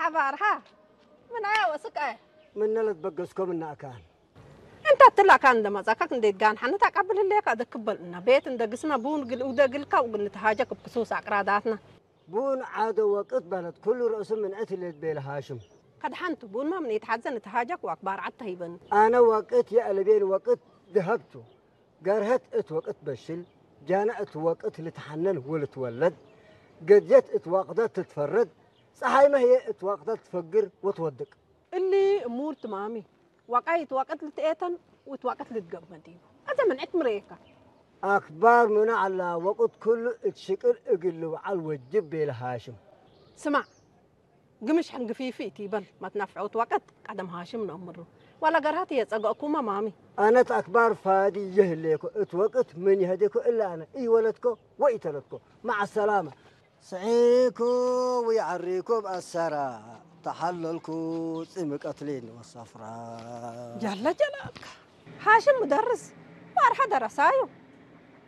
ኣባርሃ ምን ኣያ ወስቃ ምነለት በገስኮም እናእካን እንታ ትላካ እንደመጻካ ክንደይ ጋን ሓነት ኣቃብል ህለካ ደክበል እና ቤት እንደ ግስና ቡን ግል ውደ ግልካ ውግል ንተሃጀክ ብክሱስ ኣቅራዳትና ቡን ዓደ ወቅት በለት ኩሉ ርእሱ ምንዕት ይለት ቤል ሃሽም ከድሓንቱ ቡን ማምን የተሓዘ ንተሃጀክ ዋክ ባርዓት ተሂበን ኣነ ወቅት የእለቤን ወቅት ድሀብቱ ገርሀት እት ወቅት በሽል ጃነ እት ወቅት ልትሓነን ወልትወለድ ገድየት እት ዋቅዳት ትትፈረድ ፀሓይ መህየ እት ዋቅዳት ትፈግር ወትወድቅ። እሊ እሙር ትማሚ ዋቃይ እት ዋቅት ልትኤተን ወት ዋቅት ልትገብመድ እዩ። ኣዘ መንዕት ምረየካ። ኣክባር ምነ ዓላ ወቅት ኩሉ እት ሽቅል እግል ልውዓል ወጅብ ቤለ ሃሽም። ስማዕ ግምሽ ሕንግፊፊ እቲ ይበል መትናፍዐውት ዋቀት ቀደም ሃሽም ነእምሩ ዋላ ገርሃት እየጸገእኩማ ማሚ። ኣነት ኣክባር ፋዲ ይህሌኮ እት ወቅት ምን ይህዴኮ እላ ኣነ ኢወለትኮ ወኢተለትኮ ማዓ ሰላማ። ስዒኩ ወይዓሪኩ ብኣሰራ ተሓለልኩ ጽምቀትሊን ወሰፍራ። ጀለ ጀላልካ ሃሽም ምደርስ ዋርሓ ደረሳዩ።